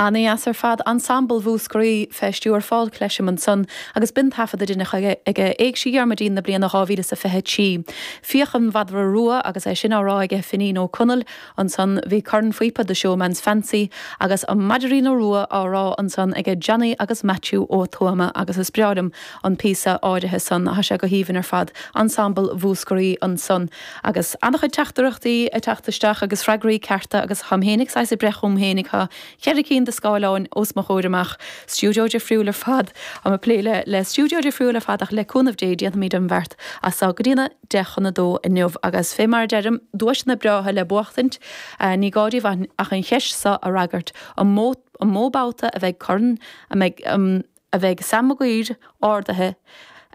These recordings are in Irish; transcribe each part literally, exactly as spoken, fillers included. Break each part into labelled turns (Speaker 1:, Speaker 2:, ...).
Speaker 1: Ana-dheas ar fad Ensemble Mhúscraí fé stiúir Paul Clesham ansan agus b'in taifead a deineadh aige Éigse Dhiarmuidín na bliana dhá mhíle is a fiche trí. Fiach an Mhadra Rua agus é sin á rá aige Finín Ó Conaill ansan bhí cornphíopa The Showman's Fancy agus an Maidrín Rua á rá ansan aige Johnny agus Matthew Ó Tuama agus is breá liom an píosa áirithe san tá sé go haoibhinn ar fad Ensemble Mhúscraí ansan agus an-chuid teachtaireachtaí ag teacht isteach agus freagraí cearta agus táim féinig saghas ag breith chugam féinig tá ceithre cinn de scáileáin os mo chomhair amach stiúideo difriúil ar fad am ag plé le le stiúideo difriúil ar fad ach le cúnamh Dé déanfaimid an bheart as seo go dtí a deich chun a dó inniu agus fé mar a deirim duaiseanna breátha le buachtaint ní gá daoibh ach an cheist seo a fhreagairt an mó an mó babhta a bheidh corn a mbeidh um, a bheidh Sam Maguire ardaithe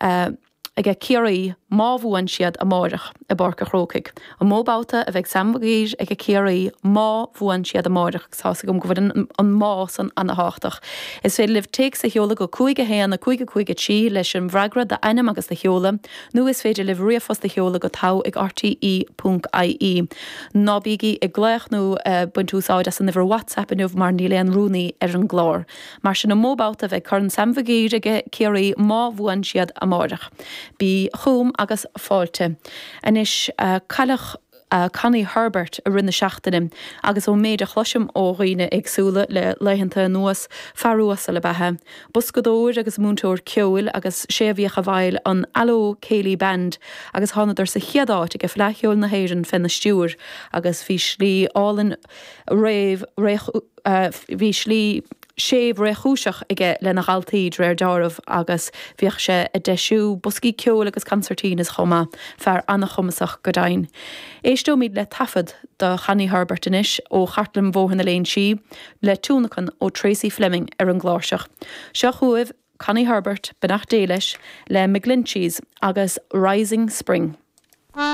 Speaker 1: uh, aige Ciarraí má bhuann siad amárach i bPáirc an Chrócaigh. An mó babhta a bheidh Sam Maguire ag Ciarraí má bhuann siad amárach tá gom go bhfuil an má san an-tábhachtach. Is féidir libh téacs a sheoladh go cúig a haon a cúig a cúig a trí leis an bhfreagra d'ainm agus do sheoladh, nó is féidir libh ríomhphost a sheoladh go togha ag RTE.ie. Ná bígí ag glaoch nó uh, baint úsáid as an uimhir WhatsApp inniu mar níl aon rúnaí ar an gclár. Mar sin an mó babhta a bheidh Corn Sam Maguire ag Ciarraí má bhuann siad amárach. Bí chugam agus fáilte. Anois uh, cailleadh uh, Connie Herbert i rith na seachtaine agus ó méid a chloisim ó dhaoine éagsúla le laethanta anuas fear uasal ab ea. Boscadóir agus múinteoir ceoil agus sé a bhíodh i bhfeighil an Allo Céilí Band agus thánadar sa chéad áit ag Fleadh Cheoil na hÉireann féna stiúir agus bhí slí álainn réamh uh, bhí slí séimh réchúiseach aige lena dhaltaí de réir dealraimh agus bhíodh sé ag deisiú boscaí ceoil agus concertinas chomh maith fear an-chumasach go deimhin. Éisteoimid le taifead de Chonnie Herbert anois ó Chartlann Bhóthar na Léinsí le tionlacan ó Tracy Fleming ar an gcláirseach. Seo chugaibh Connie Herbert beannacht Dé leis le McGlinchey's agus Rising Spring.